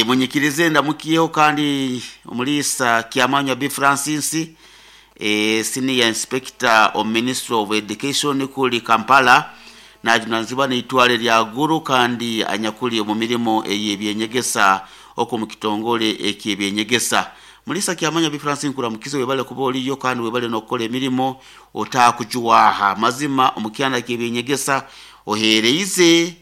Munyikirize ndamukyeho kandi Omulisa Kyamanywa B Francis, Senior Inspector omu Ministry of Education kuri Kampala, najunanizibwa n'eitware rya Gulu kandi anyakuri omu mirimo ey'ebyenyegesa okwo omu kitongore eky'ebyenyegesa. Mulisa Kyamanywa B Francis nkuramukize webale kuba oriyo kandi webale n'okukora emirimo otakujuwaha. Mazima omu kyanda ky'ebyenyegesa ohereize,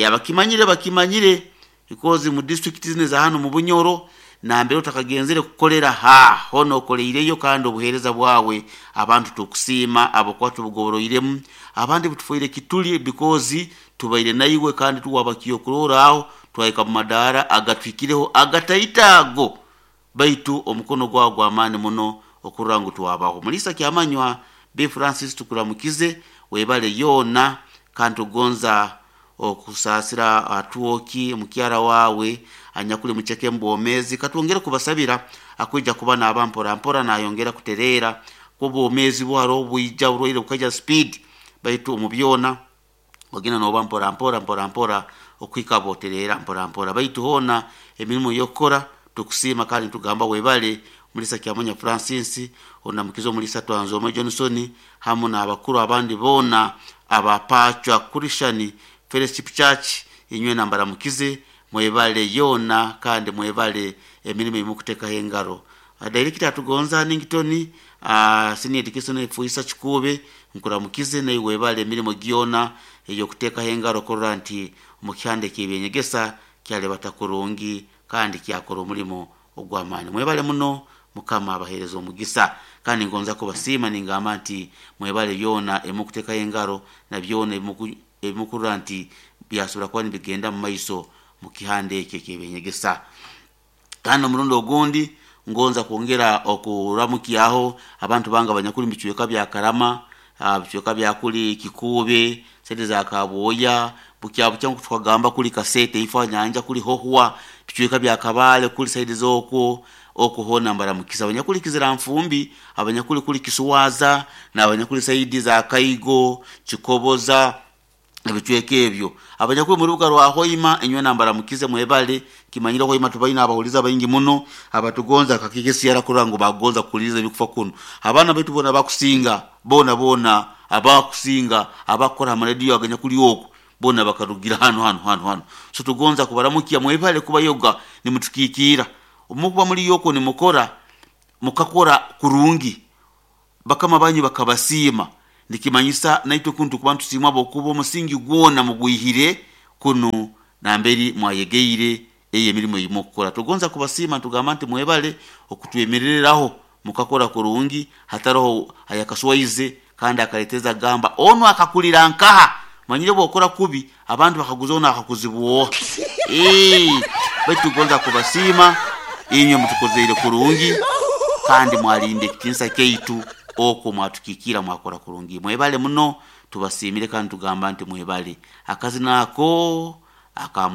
abakimanyire bakimanyire because mu district zinu eza hanu mu Bunyoro nambere otakagenzere kukorera ha hoona okoreireyo kandi obuheereza bwawe abantu tukusiima ahabw'okuba tubugoboroiremu abandi butufoire kituri because tubaire naiwe kandi tuwaba ky'okurorraho twahika mu madaara agatuhikireho agataito ago baitu omukono gwawe gw'amaani muno okurora ngu twabaho. Muriisa Kyamanywa B. Francis tukuramukize webale yoona kandi tukugonza okusaasira Atwoki mukyara waawe anyakuri muceke omu bwomeezi. Katwongere kubasabira akwija kuba naaba mpora mpora nayongera kutereera kuba obwomeezi bwo haroho obwija oburwaire bukaija speed baitu omu byona ogenda nooba mpora mpora mpora mpora okuhika bwotereera mpora mpora. Baitu hoona emirimo ey'okukora tukusiima kandi nitugamba webale Muriisa Kyamanya Francis, Onamukiza Omuriisa Twanzomwe Johnson hamu n'abakuru abandi boona aba Pacwa Christian Fellowship Church inywena mbaramukize mwebale yoona kandi mwebale emirimo eyimukutekaho engaro. Dayirekita Atugonza Hannington, Senior Education Efuisa Kikuube nkuramukize naiwe webale emirimo gyona ey'okutekaho engaro kurora nti omu kihanda eky'ebyenyegesa kyalebata kurungi kandi kyakora omurimo ogw'amaani. Mwebale muno, Mukama abaheereze omugisa. Kandi ngonza kubasiima ningamba nti mwebale byona ebimukutekaho engaro na byona ebimukurora nti byasobora kuba nibigenda mu maiso mu kihanda ekyo eky'ebyenyegesa. Kandi omurundi ogundi ngonza kwongera okuramukyaho abantu bange abanyakuli mu bicweka bya Karama, bicweka bya kuli Kikuube, saidi za Kabwoya, bukya bukya nkoku tukagamba kuli Kasete ifo nyanja kuli Hohwa, bicweka bya Kabale kuli saidi z'okwo, okwo hoona mbaramukize. Abanyakuli Kiziranfumbi, abanyakuli kuli Kisuwaza, n'abanyakuli saidi za Kaigo, Kikoboza, ebicweka ebyo. Abanyakuli omu rubuga rwa Hoima inywena mbaramukize mwebale. Kimanyire Hoima tubaine abahulizi abaingi muno abatugonza kakikesiara kurora ngu bagonza kuhuliriza ebikufa kunu. Abaana baitu boona abakusinga boona boona abakusinga abakukora ha marediyo aganyakuli oku boona bakarugira hanu hanu hanu hanu. So tugonza kubaramukya mwebale kubayoga nimutukikiira. Obu mukuba muliyo okwo nimukora mukakora kurungi bakama banyu bakabasiima nikimanyisa naitwe kunu tukuba nitusiimwa habwokuba omusingi gwona mugwihire kunu namberi mwayegeire eyo emirimo ei mukukora. Tugonza kubasiima nitugamba nti mwebale okutwemerereraho mukakora kurungi hataroho ayakaswaize kandi akaleteza kugamba onu akakurira nkaha? Omanyire obwokora kubi abantu bakaguza onu akakuzibwa oha? Eeh baitu tugonza kubasiima inywe mutukozeire kurungi kandi mwarinda ekitinisa kyaitu okwo mwatukikiira mwakora kurungi. Mwebale muno tubasiimire kandi tugamba nti mwebale. Akazina ako aka.